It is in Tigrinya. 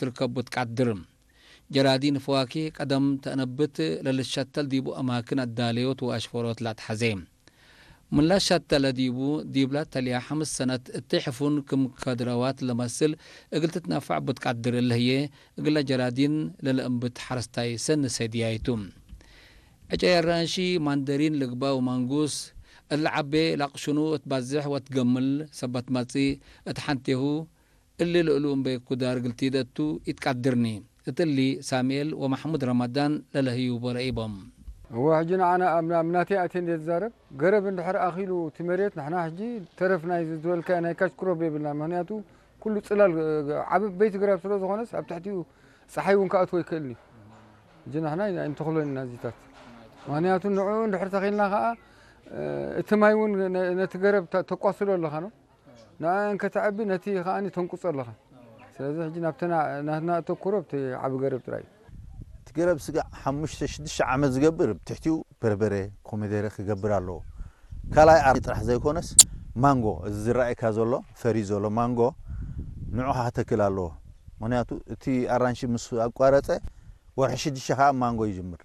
ትርከብ ብትቃድር። ጀራዲን ፈዋኪህ ቀደም ተእነብት ለልሸተል ዲቡ ኣማክን ኣዳለዮት ወኣሽፈሮት ላትሓዜ። ምላሽ ሸተለ ዲቡ ዲብላ ተልያ ሓምስ ሰነት እትሕፉን ክም ከድረዋት ለመስል እግል ትትናፋዕ ብትቃድር እልህየ እግለ ጀራዲን ለለእንብት ሓረስታይ ሰኒ ሰድያይቱ። ዕጨ የራንሺ ማንደሪን ልግባ ወማንጉስ እለ ዓቤ ላቕሽኑ እትባዝሕ ወትገምል ሰበት መጺእ እት ሓንቴሁ እሊ ልእሉ እምበይ ኩዳር ግልቲደቱ ኢትቃድርኒ። እትሊ ሳሙኤል ወማሕሙድ ረመዳን ለለህዩ ቦለኢቦም። እወ ሕጂ ንዓና ኣብ ኣብ ናተይ ኣትየ እንደ ዝዛረብ ገረብ እንድሕር ኣኺሉ እቲ መሬት ንሕና ሕጂ ተረፍ ናይ ዝበልካ ናይ ካሽ ክሮፕ የብልና። ምክንያቱ ኩሉ ጽላል ዓበይቲ ገረብ ስለ ዝኾነስ ኣብ ትሕቲኡ ጸሓይ እውን ክኣትዎ ይክእልኒ። ሕጂ ንሕና ኣይንተኽሎን ኢና እዚታት። ምክንያቱ ንዕኡ እንድሕር ተኺልና ከኣ እቲ ማይ እውን ነቲ ገረብ ተቋስሎ ኣለኻ ነው። ንኣን ከተዕቢ ነቲ ከኣ ተንቁጾ ኣለኻ። ስለዚ ሕጂ ናብቲ ናትና ኣተኩሮ ኣብቲ ዓቢ ገረብ ጥራይ እዩ። እቲ ገረብ ስጋዕ ሓሙሽተ ሽዱሽተ ዓመት ዝገብር ብትሕቲኡ በርበረ፣ ኮሚደረ ክገብር ኣለዎ። ካልኣይ ዓርቢ ጥራሕ ዘይኮነስ ማንጎ፣ እዚ ዝረኣየካ ዘሎ ፈርዩ ዘሎ ማንጎ ንዑ ከዓ ክተክል ኣለዎ። ምክንያቱ እቲ ኣራንሺ ምስ ኣቋረጸ ወርሒ ሽዱሽተ ከዓ ማንጎ ይጅምር።